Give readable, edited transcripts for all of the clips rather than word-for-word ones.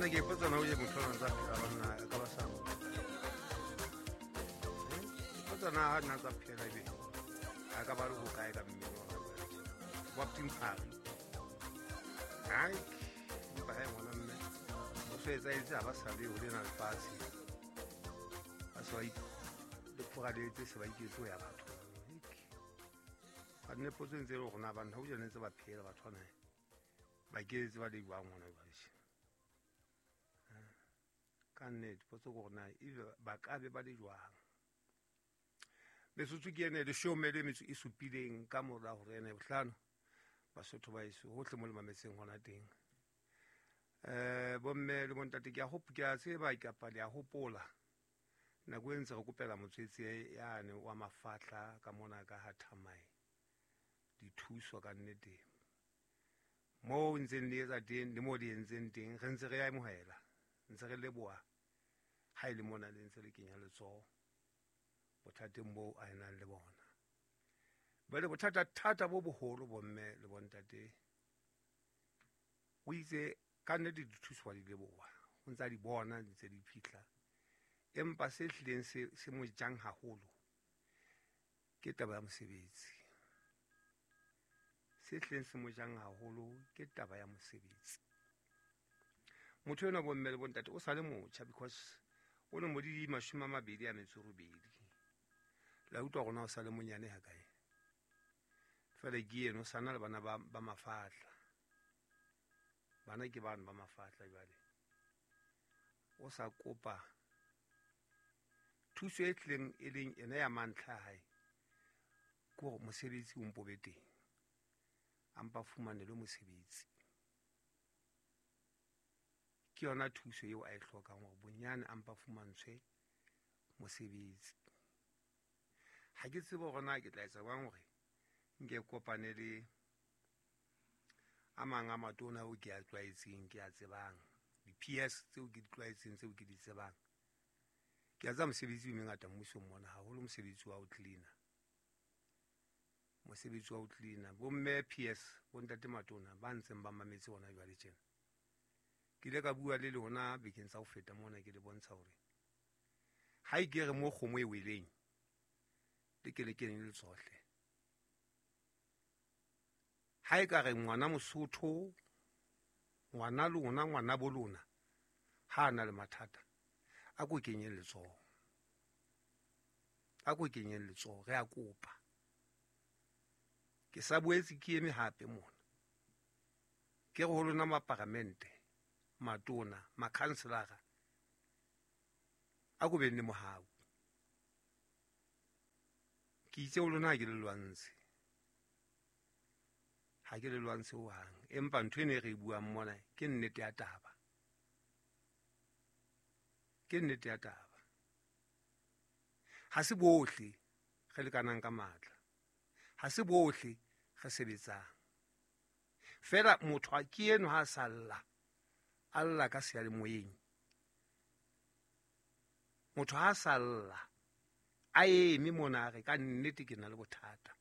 Banna, ke ipotsa na o je motho ona ntsa phela, banna, a ka ba sa mo. Ipotsa na ha nna tsa phela ebe a ka ba le hokae ka mmele wa gagwe. Wa ptimphari. Ai, empa he ngwana mme o so etsahetse ha ba sa le ho lena lefatshe. Ba se ba le phuraletse, se ba iketse ho ya batho. Ba nne potso e ntse e le hore na banna ho jane ntse ba phela batho bana ba keletse ba le jwang hona jwale. Ka nnete potso ke hore na ebe ba ka be ba le jwang. Metsotso ke ene leshome le metso e supileng ka mora hore ene bohlano Basotho ba eso hohle mo le mametseng hona teng. Bomme le bontate, ke a ke a tseba kapa le a hopola nako e ntse re kopela motswetse yane wa mafahla ka mona ka ha Thamae dithuso ka nnete. Moo ntseng le etsa teng le moo le entseng teng re ntse re amohela, ntse re leboha ha e le mona le ntse le kenya letsoho bothateng boo a nang le bona. Jwale bothata thata bo boholo bomme le bontate, o itse ka nnete dithuso wa di leboha, o ntsa di bona di ntse di fihla, empa se hlileng se mo jang haholo ke taba ya mosebetsi. Se hlileng se mo jang haholo ke taba ya mosebetsi. Motho enwa bomme le bontate o sa le motjha because o ne mo di 28. La utlwa rona o sa le monyane ha kae. Fela ke eno o sana le bana ba mafahla. Bana ke bana ba mafahla jwale. O sa kopa thuso e tlileng e leng ena ya mantlha a hae, ke hore mosebetsi o mpo be teng. A mpa fumanelwe mosebetsi. Ke yona thuso eo a e hlokang hore bonyane a mpa fumantshwe mosebetsi. Ha ke tsebe hore na ke tla etsa jwang hore nke kopane le a mang a matona ao ke a tlwaetseng, ke a tsebang, di-PS tseo ke di tlwaetseng, tseo ke di tsebang. Ke a tseba mosebetsi o mengata mmusong mona, haholo mosebetsi wa ho cleaner. Mosebetsi wa ho cleaner. Bomme PS, bontate matona ba ntseng ba mametse hona jwale tjena. Ke ile ka bua le lona bekeng tsa ho feta mona, ke le bontsha hore ha e ke re mo kgomo e weleng le ke le keneng le tsohle. Ha e ka re ngwana Mosotho, ngwana lona, ngwana bo lona, ha a na le mathata, a ko kenyeng letsoho. A ko kenyeng letsoho, re a kopa. Ke sa boetse ke eme hape mona. Ke re ho lona maparamente, matona, makhanselara, a ko beng le mohau. Ke itse ho lona ha ke le lwantshe. Ha ke le lwantshe hohang. Empa ntho ena e re e buang mona ke nnete ya taba. Ke nnete ya taba. Ha se bohle re lekanang ka matla. Ha se bohle re sebetsang. Fela motho a ke eno ha a sa lla, a lla ka seyalemoyeng. Motho ha a sa lla, a eme mona a re ka nnete ke na le bothata.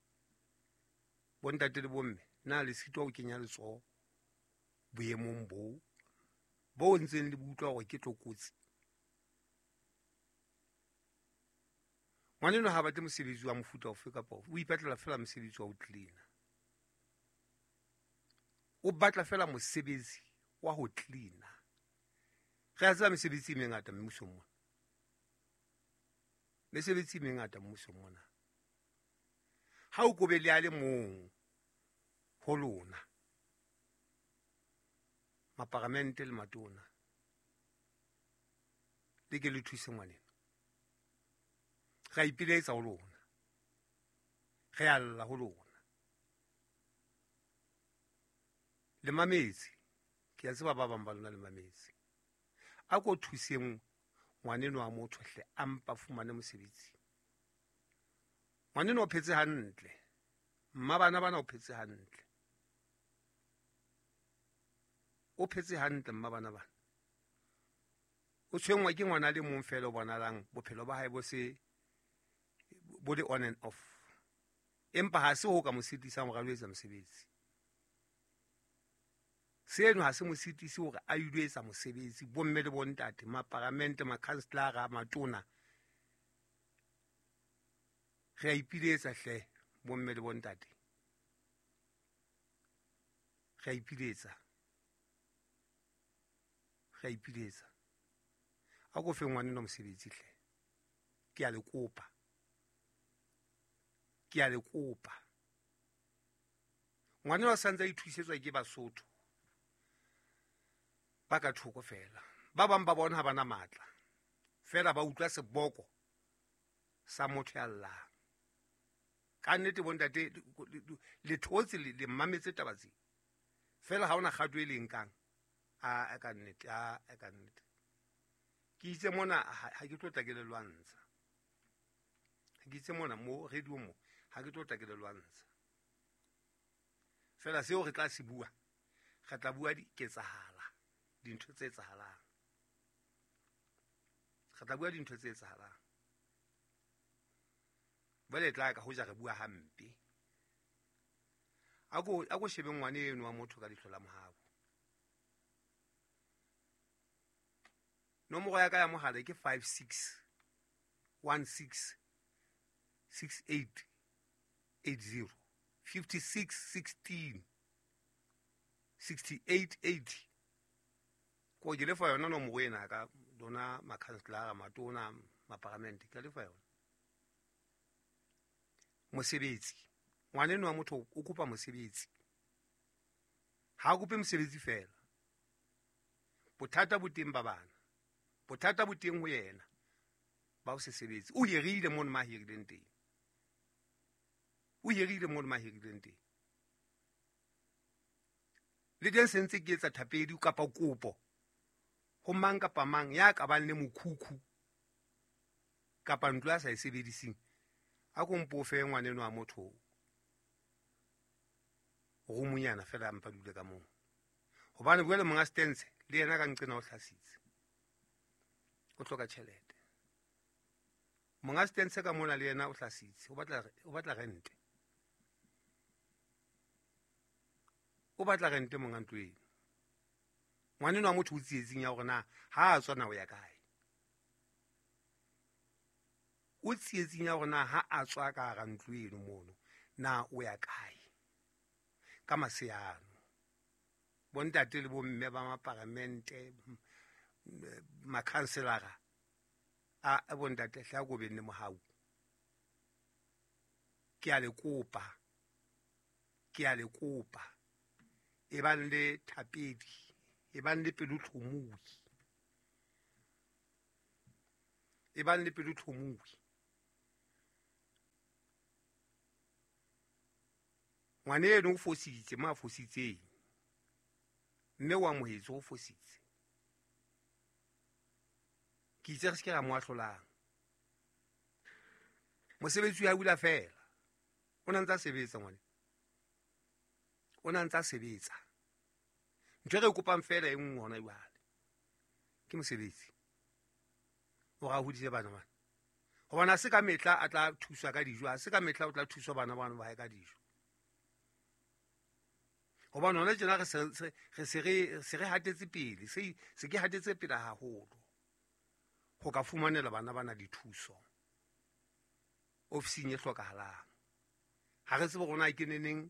Bontate le bomme, na le sitwa ho kenya letsoho boemong boo bo ntseng le utlwa hore ke tlokotsi? Ngwaneno ha batle mosebetsi wa mofuta ofe kapa ofe, o ipatlela fela mosebetsi wa ho cleaner. O batla fela mosebetsi wa ho cleaner. Re a tseba mesebetsi e mengata mmusong mona. Mesebetsi e mengata mmusong mona. Ha o kobe le a le mong ho lona, maparamente le matona, le ke le thuse ngwaneno. Re a ipiletsa ho lona, re a lla ho lona. Le mametse, ke a tseba ba bang ba lona le mametse. A ko thuseng ngwaneno wa motho hle, a mpa fumane mosebetsi. Ngwaneno o phetse hantle, mma bana bana o phetse hantle. O phetse hantle mma bana bana. O tshwenngwa ke ngwana le mong fela o bonalang bophelo ba hae bo se bo le on and off. Empa ha se ho ka mo sitisang hore a lo etsa mosebetsi. Seno ha se mo sitise hore a ilo etsa mosebetsi. Bomme le bontate, maparamente, makhanselara, matona, re a ipiletsa hle, bomme le bontate, re a ipiletsa, re a ipiletsa. A ko fe ngwaneno mosebetsi hle, ke a le kopa, ke a le kopa. Ngwaneno a santse a ithusetswa ke Basotho ba ka thoko fela. Ba bang ba bona ha bana matla fela, ba utlwa seboko sa motho ya llang. Ka nnete bontate, le thotse, le mmametse taba tse fela, ha ona kgato e leng kang. A ka nnete, a ka nnete ke itse mona ha ke tlo tla ke le lwantsha. Ke itse mona mo radio mo ha ke tlo tla ke le lwantsha. Fela seo re tla se bua, re tla bua diketsahala, dintho tse etsahalang. Re tla bua dintho tse etsahalang. Jwale tla ka hoja re bua hampe. A ko shebe ngwane eno wa motho ka leihlo la mohau. Nomoro ya ka ya mohala ke 56 16 68 80, 56 16 68 80. Ko ke lefa yona nomoro ena ka lona makhanselara, matona, maparamente, ke lefa yona. Mosebetsi, ngwaneno wa motho o kopa mosebetsi. Ha a kope mosebetsi fela. Bothata bo teng ba bana, bothata bo teng ho yena ba o se sebetse. O hirile mono ma hirileng teng, o hirile mono ma hirileng teng. Le teng se ntse ke etsa thapedi kapa kopo ho mang kapa mang ya ka bang le mokhukhu kapa ntlo a sa e sebediseng, a ko mpo fe ngwaneno wa motho roomonyana fela, mpa dule ka moo. Hobane jwale monga stense le yena ka nqena o hlasitse, o hloka tjhelete. Monga stense ka mona le yena o hlasitse, o batla rente, o batla rente monga ntlo eno. Ngwaneno wa motho o tsietsing ya hore na ha a tswa na o ya kae, o tsietsing ya hore na ha a tswa ka hara ntlo eno mono na o ya kae. Ka maseano bontate le bomme ba maparamente, makhanselara, a bontate hle a ko beng le mohau. Ke a le kopa, ke a le kopa, e bang le thapedi, e bang le pelotlhomohi, e bang le pelotlhomohi. Ngwane eno o fositse mo a fositseng, mme o amohetse o fositse. Ke itse re se ke ra mo ahlolang. Mosebetsi wa hula fela, o na ntsa sebetsa ngwane, o na ntsa sebetsa. Ntho e re kopang fela e nngwe hona jwale ke mosebetsi, o ra hodise bana bana. Hobane ha se ka mehla a tla thuswa ka dijo, ha se ka mehla o tla thuswa bana bana ba hae ka dijo. Hobane hona tjena re se re hatetse pele, se ke hatetse pele haholo ho ka fumanela bana bana dithuso ofising e hlokahalang. Ha re tsebe rona ke neneng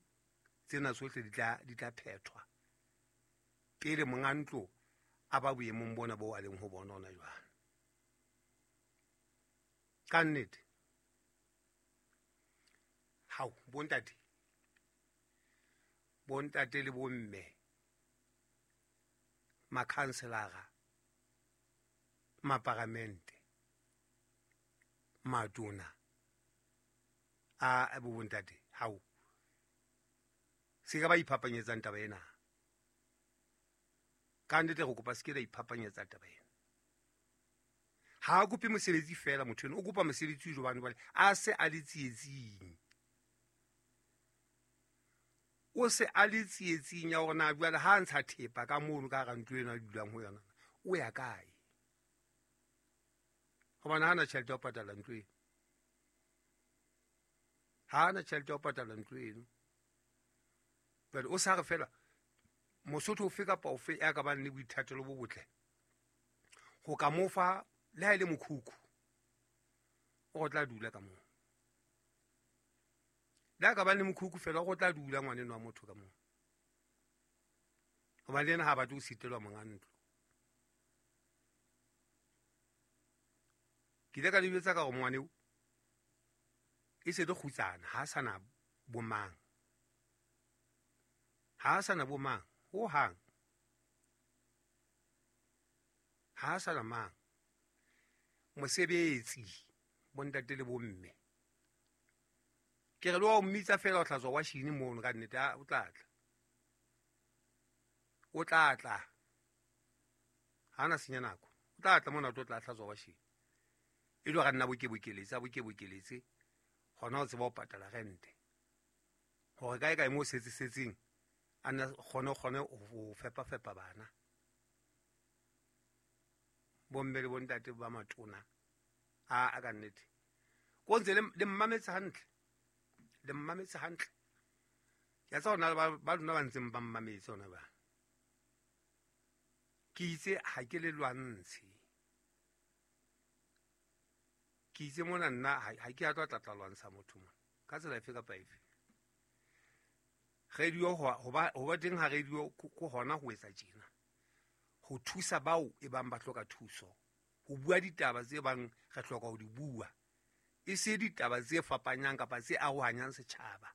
tsena tsohle di tla phethwa pele monga ntlo a ba boemong bona bo a leng ho bona hona jwale. Ka nnete hao bontate, bontate le bomme, makhanselara, maparamente, matona a bo bontate, hao se ka ba iphapanyetsang taba ena. Ka nnete re kopa se ke la iphapanyetsa taba ena. Ha a kope mosebetsi fela motho eno, o kopa mosebetsi jobane jwale a se a le tsietsing. O se a le tsietsing ya hore na jwale ha a ntsha thepa ka mono ka hara ntlo eno a dulang ho yona, o ya kae? Hobane ha ana tjhelete ya ho patala ntlo eno, ha ana tjhelete ya ho patala ntlo eno. Jwale o sa re fela Mosotho ofe kapa ofe ya ka bang le boithatelo bo botle ho ka mo fa le ha e le mokhukhu, o tla dula ka moo. Le ha ka bang le mokhukhu fela, o tla dula ngwaneno wa motho ka moo, hobane le yena ha a batle ho sitelwa monga ntlo. Ke ile ka le jwetsa ka hore ngwaneo e se le kgutsana, ha a sana bomang, ha a sana bomang ho hang, ha a sana mang. Mosebetsi bontate le bomme, ke re le wa o mmitsa fela o hlatswa washini mono, ka nnete o tla tla, o tla tla, ha na senya nako, o tla tla mona o tlo tla hlatswa washini. E le hore nna bokeboletse, a bokeboletse hona o tseba ho patala rente, hore kae kae mo setse setseng a nna kgone ho fepa fepa bana. Bomme le bontate ba matona a ka nnete ko ntse le mmametse hantle, le mmametse hantle. Ke a tseba hore na ba lona ba ntseng ba mmametse hona ba. Ke itse ha ke le lwantshe, ke itse mona nna ha ke a tlo tla tla lwantsha motho mona ka tsela efe kapa efe. Radio ho ba teng ha radio ko hona ho etsa tjena, ho thusa bao e bang ba hloka thuso, ho bua ditaba tse bang re hloka ho di bua, e se ditaba tse fapanyang kapa tse arohanyang setjhaba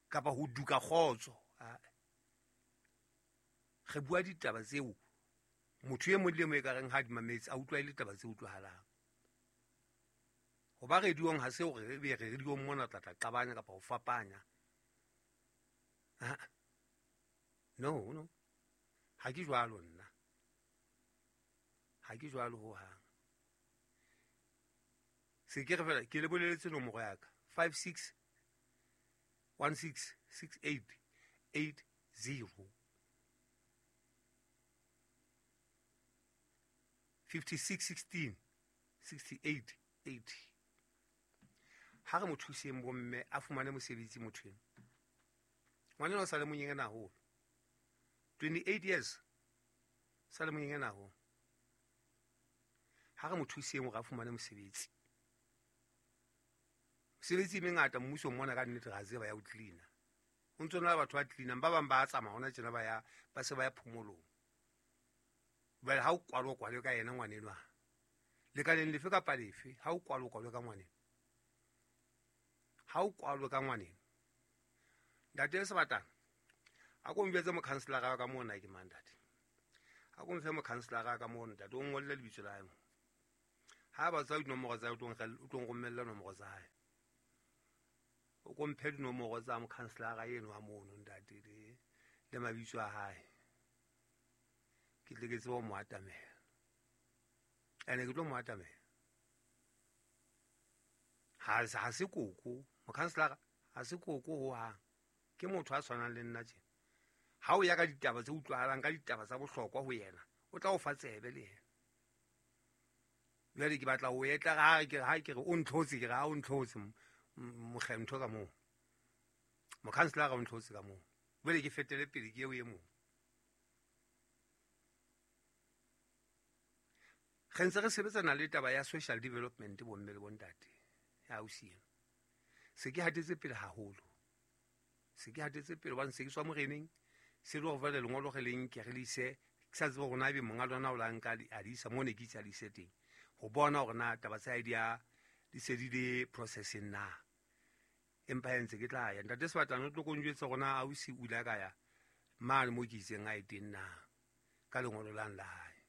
kapa ho duka kgotso. Re bua ditaba tseo motho e mong le e mong e ka reng ha di mametse a utlwa e le taba tse utlwahalang. Ho ba radiong ha se hore re be re radiong mona tla tla qabanya kapa ho fapanya. No, no, ha ke jwalo nna, ha ke jwalo ho hang. Se ke re fela ke le boleletse nomoro ya ka 56 16 68 80. 56 16 68 80. Ha re mo thuseng bomme a fumane mosebetsi motho eno. Ngwaneno o sa le monyenyane haholo, 28 years, sa le monyenyane haholo. Ha re mo thuseng hore a fumane mosebetsi. Mosebetsi e mengata mmusong mona ka nnete ra tseba ya ho cleaner. Ho ntso na le batho ba cleanang, ba bang ba tsamaya hona tjena ba ya, ba se ba ya phomolong. Jwale ha o kwalwa kwalwe ka yena ngwaneno, lekaleng lefe kapa lefe, ha o kwalwa kwalwe ka ngwaneno, ha o kwalwe ka ngwaneno. Ntate Sebatana, a ko njwetse mokhanselara wa ka mona ke mang ntate? A ko mfe mokhanselara wa ka mona ntate, o ngolle lebitso la hae mo. Ha ba tswa dinomoro tsa hae, o tlo nromella nomoro tsa hae. O ko mphe dinomoro tsa mokhanselara eno wa mono ntate le mabitso a hae. Ke tle ke tsebe ho mo atamela. Ene ke tlo mo atamela. Ha se koko, mokhanselara ha se koko ho hang. Ke motho a tshwanang le nna tjena. Ha o ya ka ditaba tse utlwahalang, ka ditaba tsa bohlokwa ho yena, o tla o fa tsebe le yena. Jwale ke batla ho etla ha ke ha ke re o ntlhotse, ke re ha o ntlhotse mokgentho ka moo. Mokhanselara o ntlhotse ka moo. Jwale ke fetele pele ke eo e mong. Re ntse re sebetsana le taba ya social development bomme le bontate ya ausi eno. Se ke hatetse pele haholo. Se ke hatetse pele hobane se ke tswa moreneng, se le hore jwale lengolo re le nke re le ise, ke sa tsebe hore na ebe monga lona o la nka a di isa moo ne ke itse a di ise teng, ho bona hore na taba tsa hae di a di se di le processing na. Empa he ntse ke tla ya. Ntate Sebatana o tlo ko njwetsa hore na ausi o ile a ka ya mane moo ke itseng a ye teng na ka lengolo lang la hae.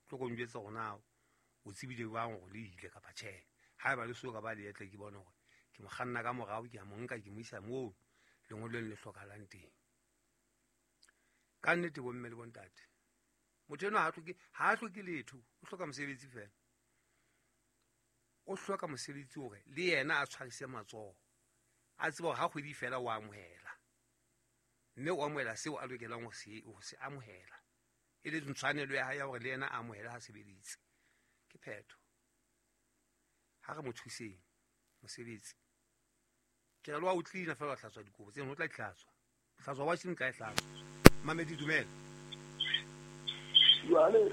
Tlo ko njwetsa hore na o tsebile jwang hore le ile kapa tjhe. Haeba le so ka ba le etle, ke bone hore ke mo kganna ka morao, ke a mo nka ke mo isa moo lengolong le hlokahalang teng. Ka nnete bomme le bontate, motho enwa ha a hloke letho, o hloka mosebetsi fela. O hloka mosebetsi hore le yena a tshwarise matsoho, a tsebe hore ha kgwedi fela o amohela, mme o amohela seo a lokelang ho se amohela, e le tshwanelo ya hae ya hore le yena a amohele ha sebeditse. Ke phetho. Ha re mo thuseng mosebetsi. Ke re le wa o cleaner fela wa hlatswa dikobo tseno, o tla di hlatswa. Hlatswa washing, tla e hlatswa. Mamedi dumela. Jwale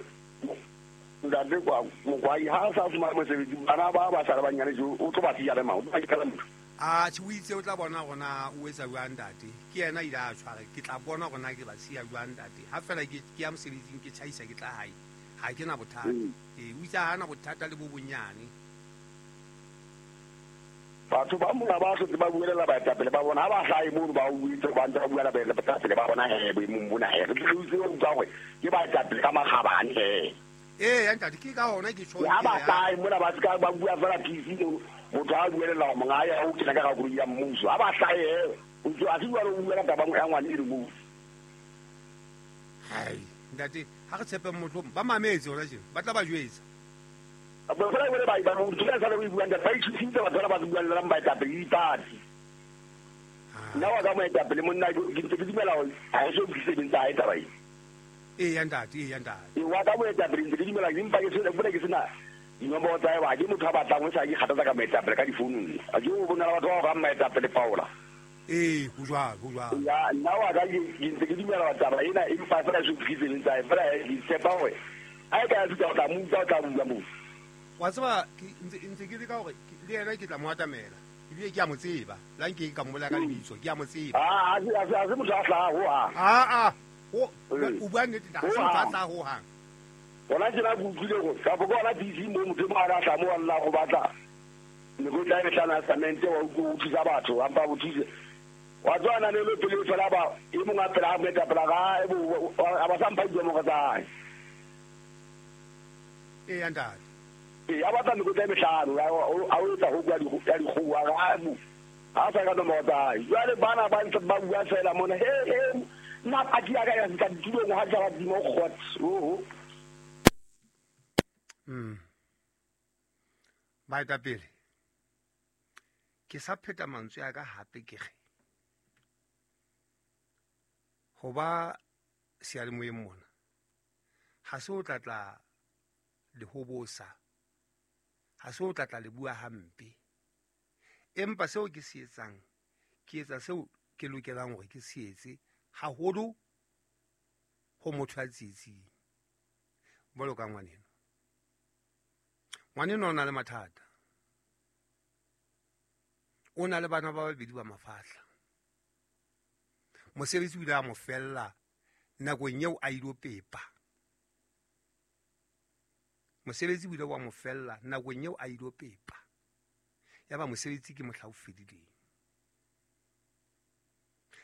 ntate kwa mokwai ha sa fumana mosebetsi bana ba ba sala banyane jo o tlo ba siya le mang o tlo ba motho. A tjhe o itse o tla bona gona o etsa jwang ntate. Ke yena ile a tshwara ke tla bona gona ke ba siya jwang ntate. Ha fela ke ya mosebetsing ke tjhaisa ke tla hae. Ha ke na bothata. Ee o itse ha na bothata le bo bonyane. Batho ba mona ba hlotse ba buelela baetapele ba bona ha ba hlahe mono ba uetse ba ntse ba buela baetapele ba bona he boemong bona he re tle re utlwe utlwa hore ke baetapele ka makgabane he. Ee ya ntate ke ka hona ke tjho. Ha ba hlahe mona ba ska ba bua fela PC motho a buelela hore monga ya o kena ka koloi ya mmuso ha ba hlahe he o ntse a se bua o buela taba ya ngwane e re mo. Hai ntate ha re tshepe motho ba mametse hona tjena ba tla ba jwetsa. Ba fela bone ba ba motho ka sala o buang ba itshusitse batho ba ba buang baetapele dipati. Nna wa ka moetapele monna ke ntse ke dumela hore ha e so fihlise tsa hae taba e. Ee ya ntate, ee ya ntate. E wa ka moetapele ntse ke dumela ke mpa ke sena bone ke sena dinomoro tsa hae ba ke motho a batlang ho sa ke kgathatsa ka moetapele ka difounung. A ke o bona batho ba go moetapele Paula. Ee ho jwalo, ho jwalo. Ya nna wa ka ke ntse ke dumela taba ena empa fela so fihlise tsa hae fela ke tshepa hore ha e ka ya fihla o tla mo utlwa o tla bua moo. Wa tseba ke ntse ke leka hore le yena ke tla mo atamela ebile ke a mo tseba la nke ka mmola ka lebitso ke a mo tseba. A se motho a hlaha ho hang. A o bua nnete ha se motho a hlaha ho hang. Hona tjena ke utlwile hore kapa ke hona PC mo motho e mong a hlaha mo a lla go batla mekotla e mehlano ya cement wa utlwa o thusa batho ampa bo thuse. Wa tswa na ne le pele fela ba e mong a pela moetapele ga a ba sa mpha dinomoro tsa hae. Ee ya ntate. Ee a batla mekotla e mehlano a o etsa ho kwa ya dikgoho a re ha sa ka nomoro tsa hae. Jwale bana ba ntse ba bua fela mona he he nna party ya ka ya fihla ditulong ha tla dimo kgot. Oho. Baetapele ke sa pheta mantswe a ka hape ke re ho ba seyalemoyeng mona ha se o tla tla le hobosa, ha se o tla tla le bua hampe, empa seo ke se etsang ke etsa seo ke lokelang hore ke se etse haholo ho motho a tsietsing jwalo ka ngwaneno. Ngwaneno o na le mathata, o na le bana ba babedi ba mafahla. Mosebetsi o ile a mo fella nakong eo a ilo pepa. Mosebetsi o ile wa mo fella nakong eo a ilo pepa. Ya ba mosebetsi ke mohla o fedileng.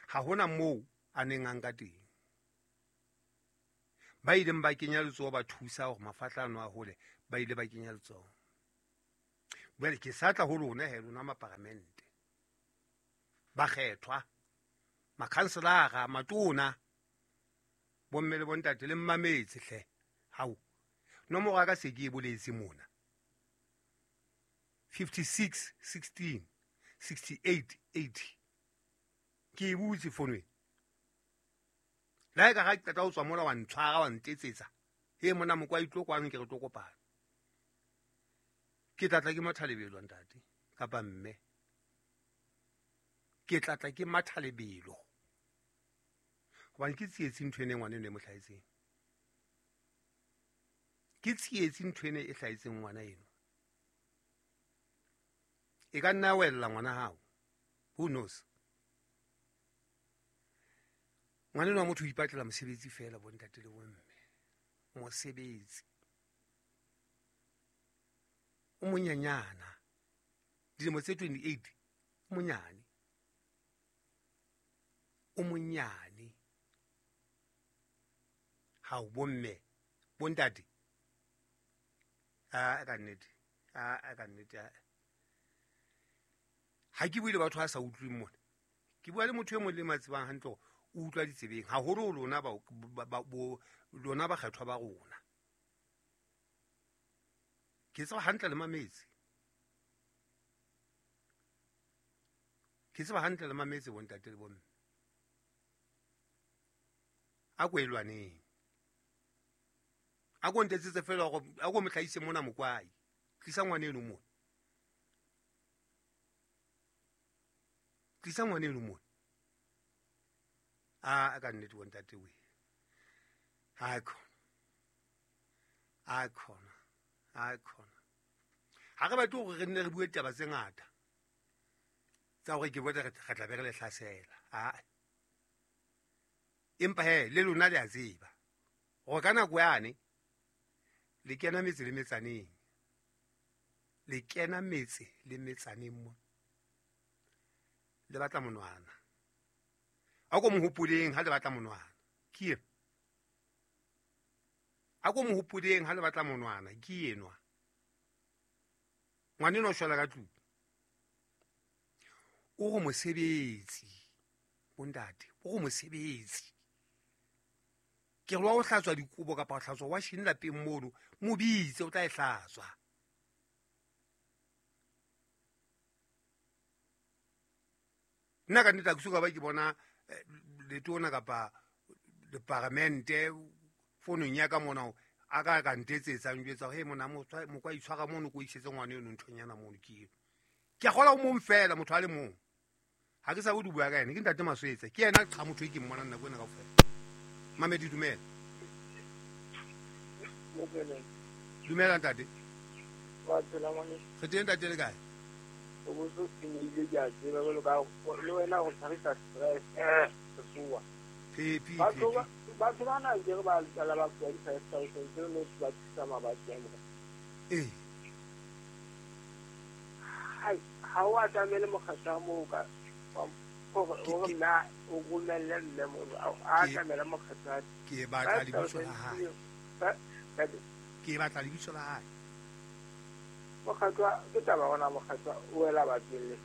Ha hona moo a neng a nka teng. Ba ileng ba kenya letsoho ba thusa hore mafahla ano a hole, ba ile ba kenya letsoho. Jwale ke sa tla ho lona he lona maparamente, bakgethwa, makhanselara, matona, bomme le bontate le mmametse hle. Hao nomoro ya ka se ke e boletse mona 56 16 68 80 ke e butse fono. La e ka ga qeta ho tswa mola wa ntshwara wa ntetsetsa he mona mokwai tlo kwano ke re tlo kopana. Ke tlatla ke matha lebelo ntate kapa mme. Ke tlatla ke matha lebelo hobane ke tsietsi ntho ene ngwana eno e mo hlahetseng. Ke tsietsi ntho ene e hlahetseng ngwana eno. E ka nna wella ngwana hao. Who knows? Ngwana eno wa motho o ipatlela mosebetsi fela bontate le bomme. Mosebetsi. O monyanyana. Dilemo tse 28 o monyane. O monyane. Hao bomme, bontate. A ka nnete. A ka nnete. Ha ke bue le batho ba sa utlweng mona. Ke bua le motho e mong le matsebang hantle hore o utlwa ditsebeng haholo lona ba lona bakgethwa ba rona. Ke tseba hantle le mametse. Ke tseba hantle le mametse bontate le bomme. A ko e lwaneng. A ko ntetsetse fela hore a ko mo hlahise mona mokwai. Tlisa ngwana eno mona. Tlisa ngwana eno mona. A ka nnete bontate we. Hai khona. Ha re batle hore re nne re bue taba tse ngata tsa hore ke botsa re tla be re le hlasela. Ae. Empa he le lona le a tseba hore ka nako yane le kena metse le metsaneng. Le kena metse le metsaneng mo. Le batla monwana. A ko mohopoleng ha le batla monwana. Ke eno. A ko mohopoleng ha le batla monwana. Ke enwa. Ngwaneno o shwela ka tlung. O go mosebetsi. Bontate, o go mosebetsi. Ke re wa o hlatswa dikobo kapa o hlatswa washing lapeng mono, mo bitse o tla e hlatswa. Nna ka nnete ha ke soka ba ke bona letona kapa departmente fonong ya ka mona a ka ka ntetsetsa njwetsa he mona mokwa itshwara mono ko isetse ngwana eno nthonyana mono ke eno. Ke a kgola o mong fela motho a le mong. Ha ke sa bo di bua ka ene ke ntate Maswetsa ke yena qha motho e ke mmonang nako ena kaofela. Mamedi dumela. Dumela ntate. Wa phela ngwane. Re teng ntate le kae? O bo senyehile ke a tseba jwalo ka le wena go tshwarisa stress sefoa. Phepi. Batho ba na ke re ba tsala ba fuwa di-5,000 tseo no ba thusa mabatsi a mo. Eh. Ha o atamele mokgatlo moo ka hore nna o romelle mme mono a atamele mokgatlo. Ke batla lebitso la hae. Ke batla lebitso la hae. Mokgatlo ke taba ona mokgatlo o wela batswelle.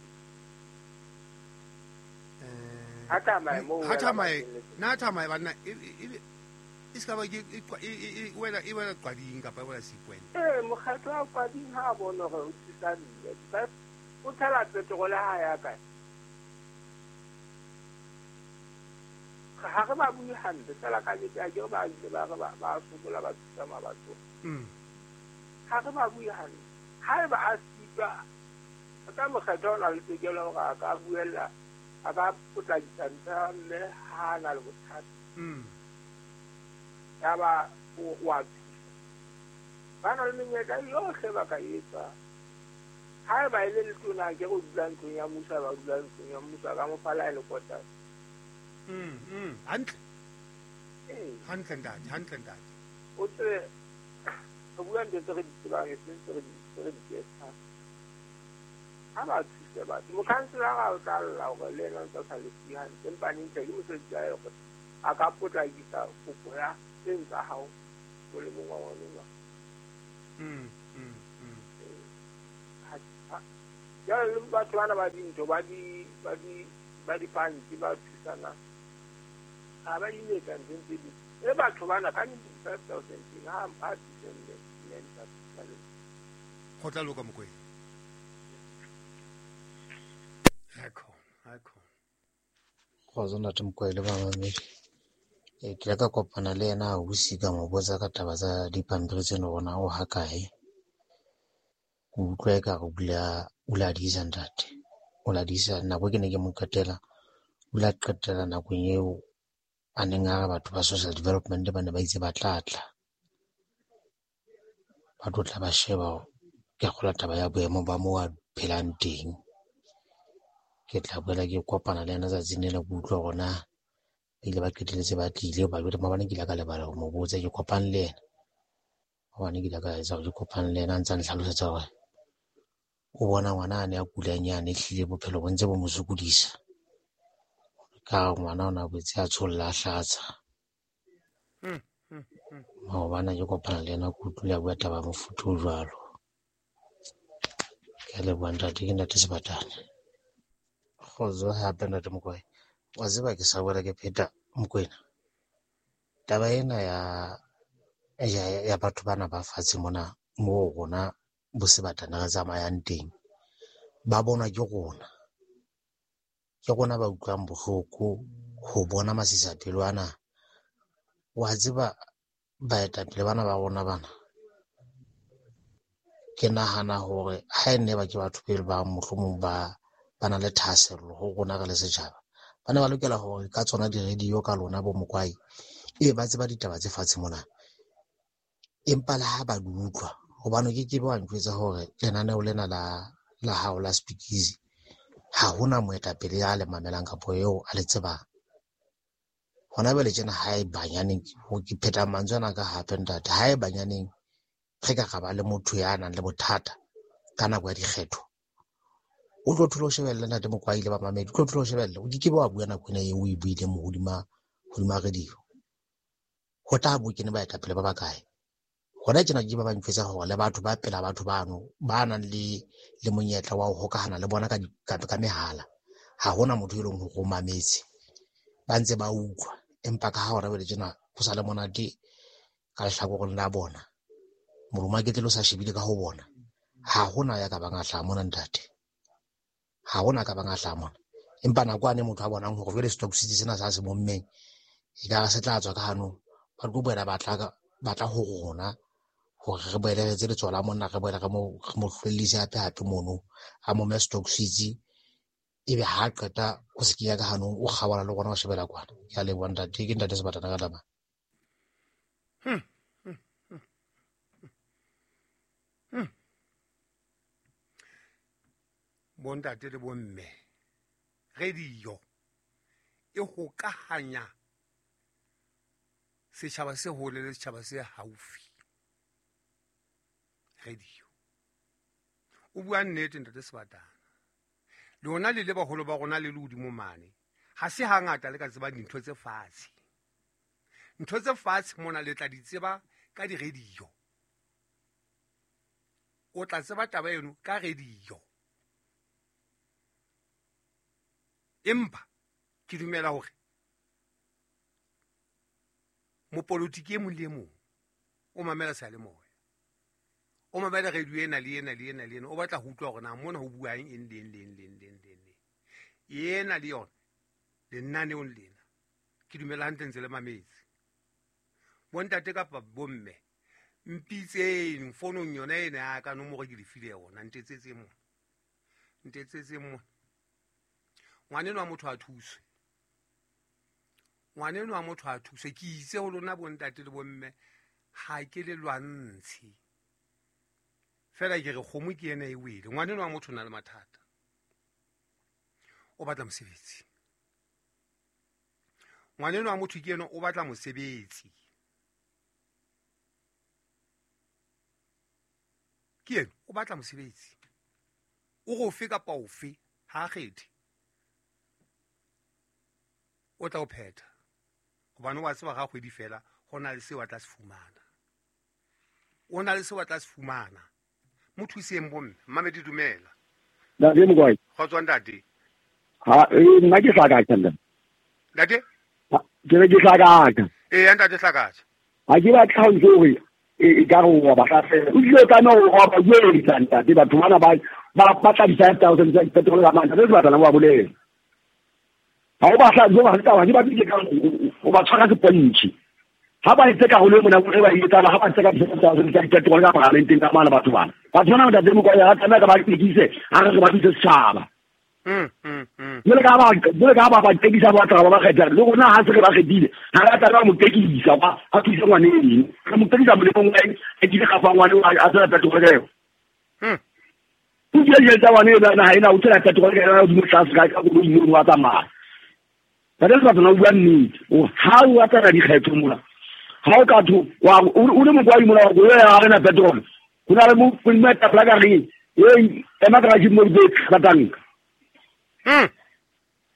Ha tamaye moo. Ha tamaye na tamaye banna e e ska ba ke e wela e wela Qading kapa e wela Sekwena. Mokgatlo wa Qading ha bona hore o thusa mme. O tshela petrol ha ya kae. Ha re ba bue hampe fela ka nnete a ke re ba ile ba re ba sokola ba thusa mabatho. Ha re ba bue hampe. Ha eba a sitwa ka mokgatlo o na le tokelo hore a ka buella a ka potlakisa ntho mme ha na le bothata. Ya ba o a thusa. Ba na le menyetla yohle ba ka etsa. Ha eba e le letona ke go dula ntlong ya mmuso ba dula ntlong ya mmuso ka mo fala e le kota. Hantle. Hantle ntate, hantle ntate. O tsebe re bua ntho tse re di tsebang e seng tse re di etsang. Ha ba thuse batho. Mokhanselara o tla lla hore le ena o ntse a sa lefuwe hantle empa ntle ke mosebetsi wa hae hore a ka potlakisa kopo ya tseng tsa hao molemong wa ngwanenwa. Jwale le batho bana ba dintho ba di-funds ba thusana ha ba imetsa nthong tse ding. E batho bana ka 5,000 ha a thuse mme ntate. Go tla loka Mokwena. Ha khona. Kgotso ntate Mokwena le bamamedi. Ke ile ka kopana le yena ausi ka mo botsa ka taba tsa dipampiri tseno hore na o ha kae. Ke utlwa ekare o la diisa ntate. O la diisa nako ke ne ke mo qetela. O la qetela nakong eo a neng a re batho ba social development ba ne ba itse ba tla tla. Ba tlo tla ba sheba ke kgola taba ya boemo ba moo a phelang teng. Ke tla boela ke kopana le yena tsatsing lena ke utlwa hore na ba ile ba qetelletse ba tlile ba jwale maobane ke ile ka lebala ho mo botsa ke kopane le yena. Maobane ke ile ka etsa hore ke kopane le yena a ntse a nhlalosetsa hore o bona ngwana a ne a kulang yane ehlile bophelo bo ntse bo mo sokodisa. Ka ngwana o na boetse a tsholla a hlatsa. Maobane ke kopana le yena ke utlwile a bua taba ya mofuta o jwalo. Ke a leboha ntate, ke ntate Sebatane. Kgotso hape ntate Mokwena. Wa tseba ke sa boela ke pheta Mokwena. Taba ena ya batho bana ba fatshe mona moo rona bo Sebatana re tsamayang teng ba bonwa ke rona. Ke rona ba utlwang bohloko ho bona masisapelo ana. Wa tseba baetapele bana ba rona bana. Ke nahana hore ha e ne ba ke batho pele ba mohlomong ba na le thahasello ho rona re le setjhaba. Ba ne ba lokela hore ka tsona di-radio ka lona bo Mokwai Ee, ba tseba ditaba tse fatshe mona, empa le ha ba di utlwa, hobane ke ke be wa njwetsa hore lenaneo lena la hao la Speakeasy ha hona moetapele ya le mamelang kapo eo a le tsebang. Hona jwale tjena ha e banyaneng, ke pheta mantswe ana ka hape ntate, ha e banyaneng re ka ra ba le motho ya nang le bothata ka nako ya dikgetho, o tlo thola o shebelle ntate Mokwai le bamamedi, o tlo thola o shebelle, o ke ke be wa bua nako ena eo o e buileng mo hodima radio. Ho tla bo kene baetapele ba bakae? Hona tjena ke ba ba ntjwetsa hore le batho ba pela batho bano ba nang le monyetla wa ho hokahana le bona ka mehala, ha hona motho e leng hore o mametse, ba ntse ba utlwa, empa ka ha hona jwale tjena ho sa le monate ka lehlakoreng la bona, molomo wa ketlele o sa shebile ka ho bona, ha hona ya ka bang a hlaha mona ntate, ha hona ka bang a hlaha mona. Empa nako ane motho a bonang hore jwale stock city sena sa se bommeng e ka re se tla tswa ka hanong, ba tlo boela ba tla ho rona hore re boele re etse letsoho la monna, re boele re mo hlwellise hape hape mono, a mome stock city, ebe ha qeta o se kenya ka hanong, o kgaola le rona o shebela kwana. Ke a leboha ntate, ke ntate Sebatana ka taba. Bontate le bomme, radio e hokahanya setjhaba se hole le setjhaba se haufi. Radio o bua nnete ntate Sebatana, lona le le baholo ba rona le le hodimo mane, ha se hangata le ka tseba dintho tse fatshe. Ntho tse fatshe mona le tla di tseba ka di-radio. O tla tseba taba eno ka radio. Empa ke dumela hore mopolotiki e mong le e mong o mamela seyalemoya, o mamela radio ena le ena le ena le ena, o batla ho utlwa hore na mona ho buang eng le eng le eng le eng le eng le eng. Ena le yona lenaneong lena ke dumela hantle ntse le mametse. Bontate kapa bomme, mpitseng fonong yona ena ya ka nomoro ke le file yona, ntetsetseng mona, ntetsetseng mona. Ngwaneno wa motho a thuswe, ngwaneno wa motho a thuswe. Ke itse ho lona bontate le bomme, ha ke le lwantshe fela, ke re kgomo ke ena e wele. Ngwaneno wa motho o na le mathata, o batla mosebetsi. Ngwaneno wa motho ke ena o batla mosebetsi, ke ena o batla mosebetsi, o re ofe kapa ofe ha a kgethe, o tla o phetha, hobane wa tseba ga kgwedi fela ho na le seo a tla se fumana, o na le seo a tla se fumana. Mo thuseng bomme. Mmamedi dumela. Ntate Mokwai. Kgotso ntate. Ha nna ke Hlakatjha ntate. Ntate? Ke re ke Hlakatjha. Ee ntate Hlakatjha. Ha ke batla ho ntse hore e ka re wa ba hlasela. O tlile tlameha hore wa ba buelisa ntate, batho bana ba batla di-5,000 tsa petrol ka mane, ntate Sebatana wa bolela. Ha o ba hla jo ba taba ke ba ke ka o ba tshwara sepontshi. Ha ba etse ka hole mona re ba etsa ha ba tseka di-5,000 tsa petrol ka parlamenteng ka mane batho bana. Batho bana ntate Mokwai ha tlameha ka ba tekise, ha re ba thuse setjhaba. Jwale ka ba ba tekisa ba tla ba kgetha le rona ha se re ba kgethile, ha re tla ba mo tekisa ba a thuse ngwaneng, re mo tekisa molemong wa eng, a kile gafa ngwane a tsela petrol ka yona. O kile tsa ngwane ena ha ena o tsela petrol ka yona hodimo tlase ka koloi mono wa tsamaya. Ntate Sebatana o bua nnete, o ha o batla dikgetho mona, ha o ka tho wa o le Mokwai mona wa koloi ha re na petrol, ho na le mo moetapele ka reng e ema ka mo di batang.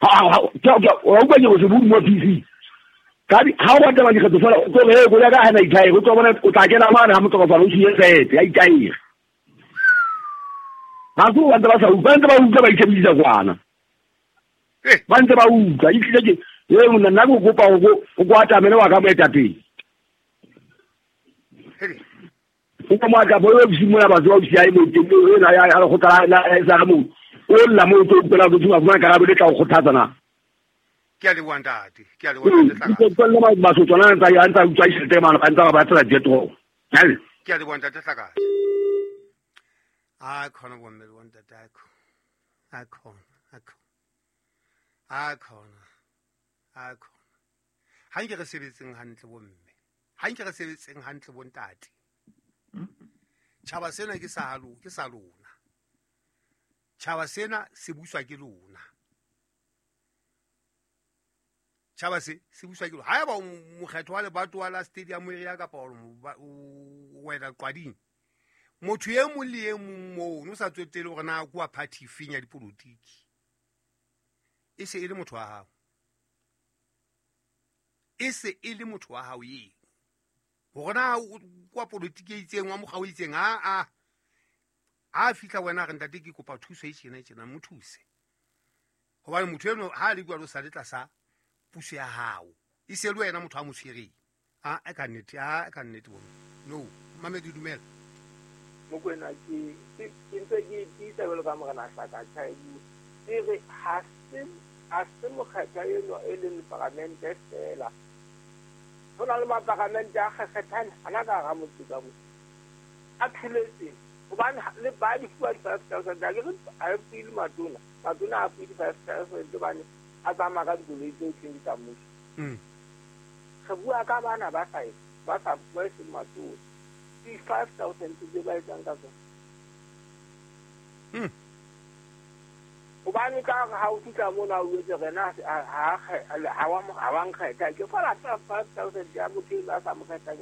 Ha wa utlwa ke go se bue mo PC. Ka ha o batla dikgetho fela o tlo re koloi ya ka ha ena ithaere, o tlo bona o tla kena mane ha motlokofala o siye tshepe ya itaere. Ha se ba ntse ba sa utlwa, ba ntse ba utlwa ba itshebedisa kwana. Ba ntse ba utlwa, e tlile ke e monna nna ke kopa o ko atamele wa ka moetapele. O ko moatla bo o simolola batho ba o siae mo teng ena ya lekgotla la sa re mo o lla mo o tlo utlwela o tlo fumana karabo le tla o kgothatsa na. Ke a leboha ntate, ke a leboha ntate Hlakatjha. Ke le Basotho a ntse a ntse utswa tjhelete mane, ba ntse ba batla petrol. Ke a leboha ntate Hlakatjha. A khona bomme le bontate, a khona, a khona, a khona, a khona, a khona. Ha nke re sebetseng hantle bomme, ha nke re sebetseng hantle bontate. Tjhaba sena ke sa ke sa lona. Tjhaba sena se buswa ke lona. Tjhaba se se buswa ke lona. Haeba mokgetho wa lebatowa la stadium area kapa wena Qwading, motho e mong le e mong moo o sa tswetele hore na ke wa party efeng ya dipolotiki, e se e le motho wa hao. E se e le motho wa hao eo. Hore na kwa politiki e itseng wa mokga o itseng, a a fihla wena re ntate ke kopa thuso e tjena tjena, mo thuse. Hobane motho eno ha le jwalo sa le tlasa puso ya hao, e se le wena motho a mo tshwereng. A ka nnete, a ka nnete bona. No, mamedi dumela. Mokwena ke ntse ke tiisa jwalo ka morena Hlaka Tjhaibu. Ke re ha se mokgetha eno e leng paramente fela. Ho na le maparamente a kgethang hana ka hara motse ka mo. A thuletse hobane le ba di fuwa 5,000 a ke re a fuwe matona. Matona a fuwe 5,000 hobane a tsamaya ka dikoloi tseo tse tsa mmuso. Re bua ka bana ba sa ba seng matona. Di 5,000 tse ba etsang ka tsona. Hobane ka ha o fihla mona o etse rena ha wa nkgetha ke fela 5,000 ya motho a sa mo kgetha.